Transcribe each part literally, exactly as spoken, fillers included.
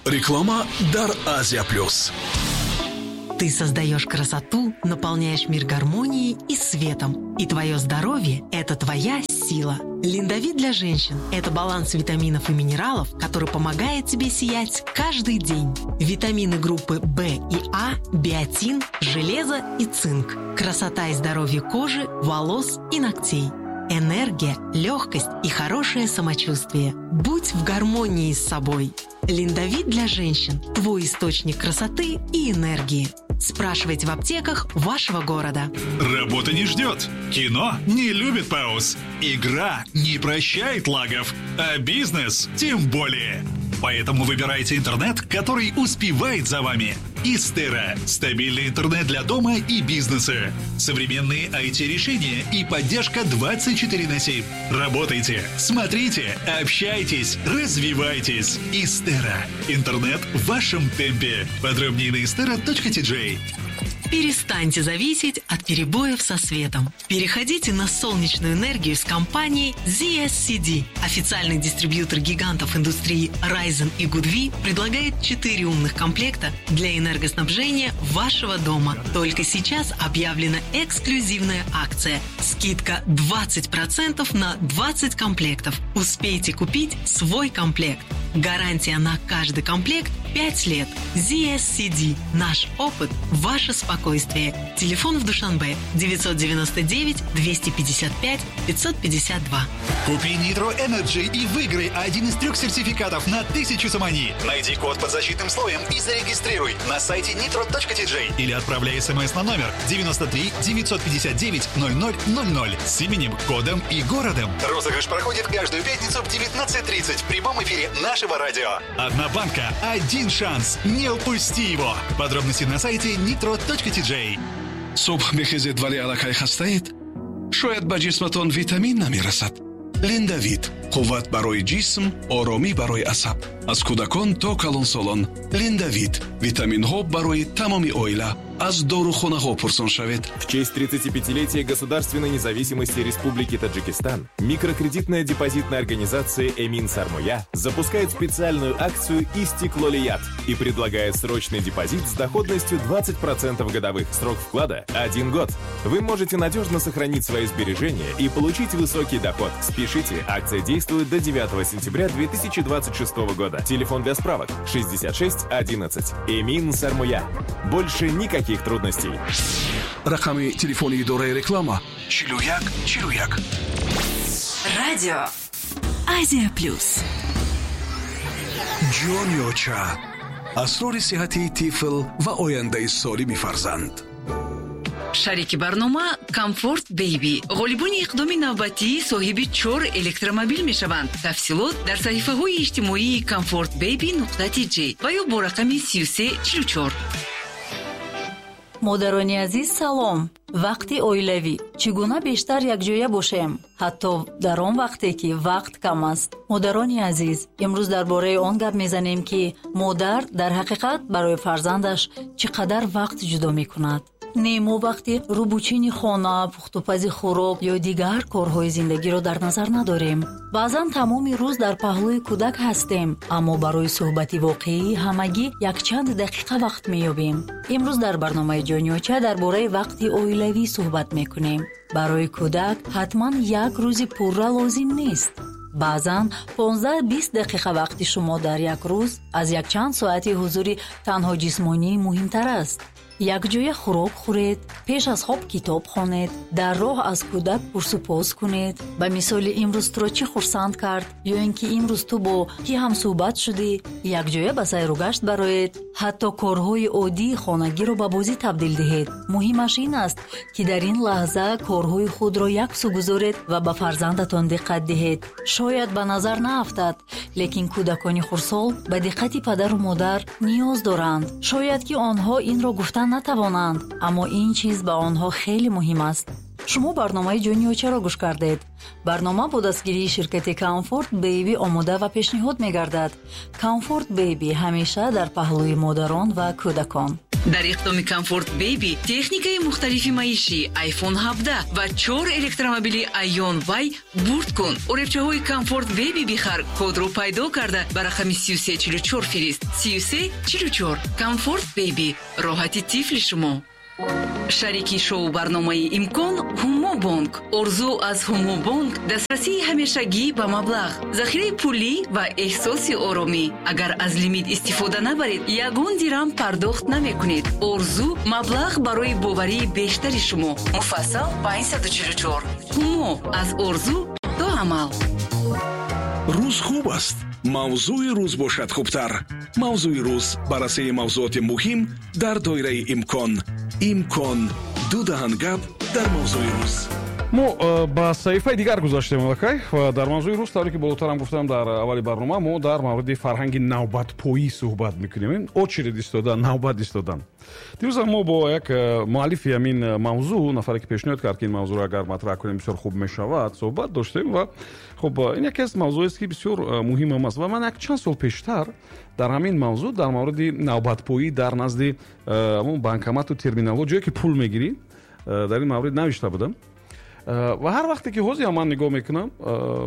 Реклама дар Азия Плюс. Ты создаешь красоту, наполняешь мир гармонией и светом. И твое здоровье – это твоя сила. Линдовит для женщин – это баланс витаминов и минералов, который помогает тебе сиять каждый день. Витамины группы В и А, биотин, железо и цинк. Красота и здоровье кожи, волос и ногтей. Энергия, легкость и хорошее самочувствие. Будь в гармонии с собой. Линдовит для женщин – твой источник красоты и энергии. Спрашивайте в аптеках вашего города. Работа не ждет. Кино не любит пауз. Игра не прощает лагов. А бизнес тем более. Поэтому выбирайте интернет, который успевает за вами. Истера – стабильный интернет для дома и бизнеса. Современные ай ти-решения и поддержка двадцать четыре на семь. Работайте, смотрите, общайтесь, развивайтесь. Истера – интернет в вашем темпе. Подробнее на истера точка ти джей. Перестаньте зависеть от перебоев со светом. Переходите на солнечную энергию с компанией зет эс си ди. Официальный дистрибьютор гигантов индустрии Risen и Goodwe предлагает четыре умных комплекта для энергоснабжения вашего дома. Только сейчас объявлена эксклюзивная акция. Скидка двадцать процентов на двадцать комплектов. Успейте купить свой комплект. Гарантия на каждый комплект пять лет. зет эс си ди. Наш опыт – ваше спокойствие. Телефон в Душанбе девятьсот девяносто девять двести пятьдесят пять пятьсот пятьдесят два. Купи Nitro Energy и выиграй один из трех сертификатов на тысячу сомони. Найди код под защитным слоем и зарегистрируй на сайте nitro точка ти джей или отправляй смс на номер девяносто три девятьсот пятьдесят девять ноль ноль ноль ноль с именем, кодом и городом. Розыгрыш проходит каждую пятницу в девятнадцать тридцать в прямом эфире нашего радио. Одна банка, один шанс. Не упусти его. Подробности на сайте nitro точка ти джей. Субҳ мехезед, вале аллакай хастаед? Шояд ба ҷисматон витамин намерасад. Линдавит – қувват барои ҷисм, оромӣ барои асаб. Аз кӯдакон то калонсолон. Линдавит – витаминҳо барои тамоми оила. Аз дорухонаҳо пурсон шавед. В честь тридцатипятилетия государственной независимости Республики Таджикистан микрокредитная депозитная организация «Эмин Сармоя» запускает специальную акцию «Истиклолият» и предлагает срочный депозит с доходностью двадцать процентов годовых. Срок вклада – один год. Вы можете надежно сохранить свои сбережения и получить высокий доход. Спешите, акция действует до девятого сентября две тысячи двадцать шестого года. Телефон для справок шестьдесят шесть одиннадцать. «Эмин Сармоя». Больше никаких трудностей. Рақами телефони идораи реклама чилу як чилу як. Радио Азия Плюс. Ҷониоча. Асрори сиҳати тифл ва ояндаи солими фарзанд. Шарики барнома Комфорт Бейби. Ғолибони иқдоми навбатӣ соҳиби чор электромобил мешаванд. Тафсилот дар саҳифаҳои иҷтимоии Комфорт Бейби нуқта ти ҷи ва ё бо рақами сию се чилу чор. Модарони азиз, салом. Вақти оилавӣ. Чӣ гуна бештар якҷоя бошем? Ҳатто дар он вақте ки вақт кам аст. Модарони азиз, имрӯз дар бораи он гап мезанем, ки модар дар ҳақиқат барои фарзандаш чӣ қадар вақт ҷудо мекунад. Не, мо вақти рӯбучини хона, пухтупази хӯрок ё дигар корҳои зиндагиро дар назар надорем. Баъзан тамоми рӯз дар паҳлӯи кӯдак ҳастем, аммо барои суҳбати воқеӣ ҳамагӣ якчанд дақиқа вақт меёбем. Имрӯз дар барномаи Ҷониоча дар бораи вақти оилавӣ суҳбат мекунем. Барои кӯдак ҳатман як рӯзи пурра лозим нест. Баъзан понздаҳ-бист дақиқа вақти шумо дар як рӯз аз якчанд соати ҳузури танҳо ҷисмонӣ муҳимтар аст. Якҷоя хӯрок хӯред, пеш аз хоб китоб хонед, дар роҳ аз кӯдак пурсупос кунед. Ба мисоли имрӯз туро чӣ хурсанд кард ё ин ки имрӯз ту бо кӣ ҳамсӯҳбат шудӣ, якҷоя ба сайру гашт бароед. Ҳатто корҳои оддии хонагиро ба бозӣ табдил диҳед. Муҳимаш ин аст, ки дар ин лаҳза корҳои худро яксу гузоред ва ба фарзандатон диққат диҳед. Шояд ба назар наафтад, лекин кӯдакони хурдсол ба диққати падару модар ниёз доранд. Шояд ки онҳо инро гуфтан натавонанд, аммо ин чиз ба онҳо хеле муҳим аст. Шумо барномаи Ҷони Очаро гӯш кардед. Барнома бо дастгирии ширкати Комфорт Бейби омода ва пешниҳод мегардад. Комфорт Бейби ҳамеша дар паҳлӯи модарон ва кӯдакон. Дар иқдоми Комфорт Бейби техникаи мухталифи маишӣ, iPhone ҳабдаҳ ва чор электромобили Ion Y бурд кун. Оребчаҳои Комфорт Бейби бихар, кодро пайдо карда ба рақами сию се чилу чор фирист. Сию се чилу чор. Комфорт Бейби. Роҳати тифли шумо. Шарики шоу барномаи Имкон Ҳумо Бонк. Орзу аз Ҳумо Бонк дастрасии ҳамешагӣ ба маблағ, захираи пулӣ ва эҳсоси оромӣ. Агар аз лимит истифода набаред, ягон дирам пардохт намекунед. Орзу маблағ барои боварии бештари шумо. Муфассал панҷсаду чилу чор. Ҳумо аз орзу то амал. Рӯз хуб аст. Мавзӯи рӯз бошад хубтар. Мавзӯи рӯз баррасии мавзӯоти муҳим дар доираи имкон. Имкон ду даҳан гап дар мавзӯи рӯз. Мо э, ба саҳифаи дигар гузаштем аллакай ва дар мавзӯи рӯз, тавре ки болотарам гуфтам дар аввали барнома, мо дар мавриди фарҳанги навбатпоӣ суҳбат мекунем. Очередь истодан, навбат истодан. Дирӯзам мо бо як э, муаллифи ҳамин мавзӯъ, нафаре ки пешниҳод кард, ки ин мавзӯъро агар матраҳ кунем бисёр хуб мешавад, суҳбат доштем ва хуб ин яке аз мавзӯест, ки бисёр э, муҳимам аст ва ман як чанд сол пештар дар ҳамин мавзӯъ, дар мавриди навбатпоӣ дар назди ҳамон банкомату терминалҳо, ҷое ки пул мегирӣ, дар ин маврид навишта будам. Ва ҳар вақте ки ҳозир ман нигоҳ мекунам,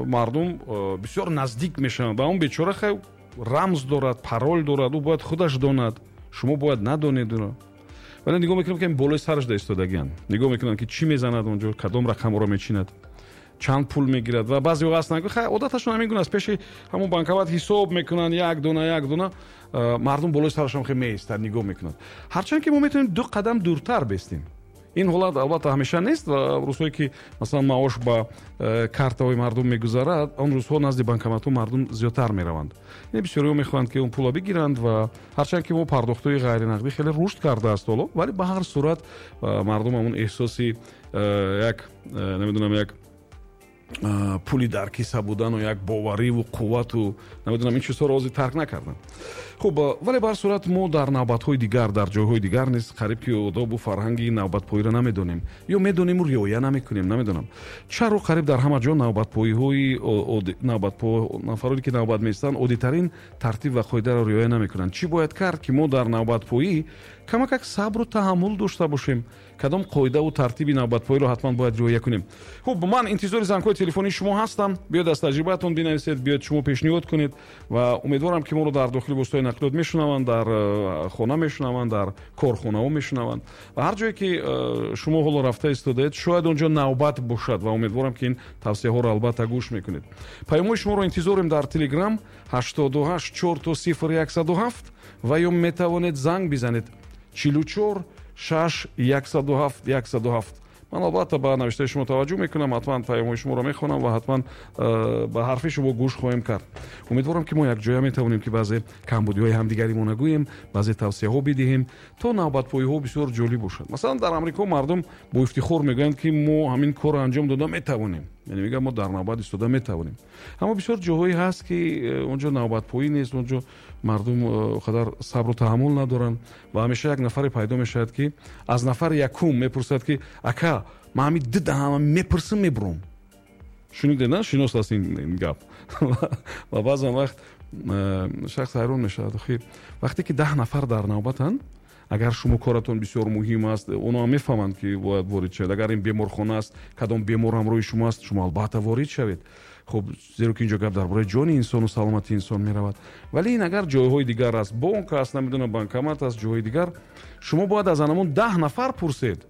мардум бисёр наздик мешаванд ба он бечора. Хай рамз дорад, парол дорад, ӯ бояд худаш донад, шумо бояд надонед ӯро. Вале нигоҳ мекунам, ки болои сараш да истодагианд, нигоҳ мекунам, ки чӣ мезанад онҷо, кадом рақамҳоро мечинад, чанд пул мегирад. Ва баъзеҳо ҳастанд, ки хай одаташон ҳамин гуна аст, пеши ҳамон банкомат ҳисоб мекунанд, як дона як дона, мардум болои сарашон хеле меистад, нигоҳ мекунанд. Ҳарчанд ки мо метавонем ду қадам дуртар бестем. Ин ҳолат албатта ҳамеша нест ва рӯзҳое ки масалан маош ба э, картаҳои мардум мегузарад, он рӯзҳо назди банкоматҳо мардум зиёдтар мераванд. Яъне бисёриҳо мехоҳанд, ки он пулро бигиранд ва ҳарчанд ки мо пардохтҳои ғайринақдӣ хеле рушд кардааст ҳоло, вале ба ҳар сурат э, мардум ҳамон эҳсоси э, як намедонам як пули дар киса будану як бовариву қуввату намедонам ин чизҳоро ҳозир тарк накарданд. Хуб, вале ба ҳар сурат мо дар навбатҳои дигар, дар ҷойҳои дигар низ қариб ки одобу фарҳанги навбатпоиро намедонем ё медониму риоя намекунем. Намедонам чаро қариб дар ҳама ҷо навбатпоиҳои нафароне ки навбат меистанд оддитарин тартиб ва қоидаро риоя намекунанд. Чӣ бояд кард, ки мо дар навбатпоӣ камакак сабру таҳаммул дошта бошем? Кадом қоидаву тартиби навбатпоиро ҳатман бояд риоя кунем? Хуб, ман интизори зангҳои телефонии шумо ҳастам. Биёед аз таҷрибаатон бинависед, биёед шумо пешниҳод кунед ва умедворам, ки моро дар дохили воситаҳои нақлиёт мешунаванд, дар хона мешунаванд, дар корхонаҳо мешунаванд ва ҳар ҷое ки шумо ҳоло рафта истодаед, шояд он ҷо навбат бошад ва умедворам, ки ин тавсияҳоро албатта гӯш мекунед. Паёмҳои шуморо интизорем дар Телеграм ҳаштоду ҳашт чор то сифр яксаду ҳафт ва ё метавонед занг бизанед чилу чор шаш яксаду ҳафт яксаду ҳафт. Ман албатта ба навиштаи шумо таваҷҷӯҳ мекунам, ҳатман паёмҳои шуморо мехонам ва ҳатман ба ҳарфи шумо гӯш хоҳем кард. Умедворам, ки мо якҷоя метавонем, ки баъзе камбудиҳои ҳамдигаримон нагӯем, баъзе тавсияҳо бидиҳем, то навбатпоиҳо бисёр ҷолиб бошад. Масалан, дар Амрико мардум бо ифтихор мегӯянд, ки мо ҳамин корро анҷом дода метавонем, яъне мегӯянд мо дар навбат истода метавонем. Аммо бисёр ҷоҳое ҳаст, ки он ҷо навбатпоӣ нест, он ҷо мардум қадар сабру таҳаммул надоранд ва ҳамеша як нафаре пайдо мешавад, ки аз нафари якум мепурсад, ки ака, ман ҳамин ду даҳама мепурсам, мебурам. Шунидед, на? Шинос аст ин гап. Ва баъзан вақт шахс ҳайрон мешавад. Охир вақте ки даҳ нафар дар навбатанд, агар шумо коратон бисёр муҳим аст, онҳо мефаҳманд, ки бояд ворид шавед. Агар ин беморхона аст, кадом бемор ҳамроҳи шумо аст, шумо албатта ворид шавед. Хуб, зеро ки инҷо гап дар бораи ҷони инсону саломатии инсон меравад. Вале ин агар ҷойҳои дигар аст, бонк аст, намедонам банкомат аст, ҷойҳои дигар, шумо бояд аз анамон даҳ нафар пурсед.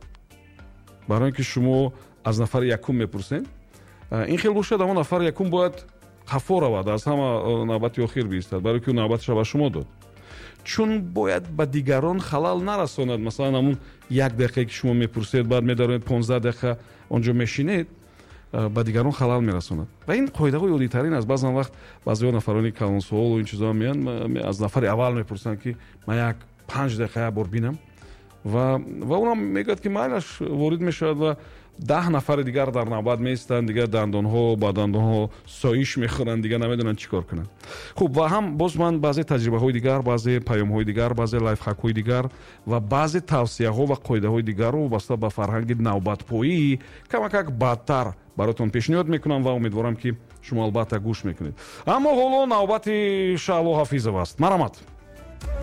Барои ин ки шумо аз нафари якум мепурсед, ин хел бошад, ҳамон нафари якум бояд қафо равад, аз ҳама навбати охир биистад, барои ки ӯ навбатша ба шумо дод. Чун бояд ба дигарон халал нарасонад. Масалан, ҳамон як дақиқае ки шумо мепурсед, баъд медаронед понздаҳ дақиқа он ҷо мешинед, ба дигарон халал мерасонад. Ва ин қоидаҳои оддитарин аст. Баъзан вақт баъзеҳо нафарони калонсолу ин чизҳо меянд, аз нафари аввал мепурсанд, ки ман як панҷ дақиқа як бор бинам. Ва ва унам мегӯяд, ки майлаш, ворид мешавад ва даҳ нафари дигар дар навбат меистанд, дигар дандонҳо ба дандонҳо соиш мехӯранд, дигар намедонанд чӣ кор кунанд. Хуб, ва ҳам боз ман баъзе таҷрибаҳои дигар, баъзе паёмҳои дигар, баъзе лайфхакҳои дигар ва баъзе тавсияҳо ва қоидаҳои дигарро вобаста ба фарҳанги навбатпоӣ камакак баъдтар баротон пешниҳод мекунам ва умедворам, ки шумо албатта гӯш мекунед. Аммо ҳоло навбати Шаҳло Ҳафизова аст. Марҳамат.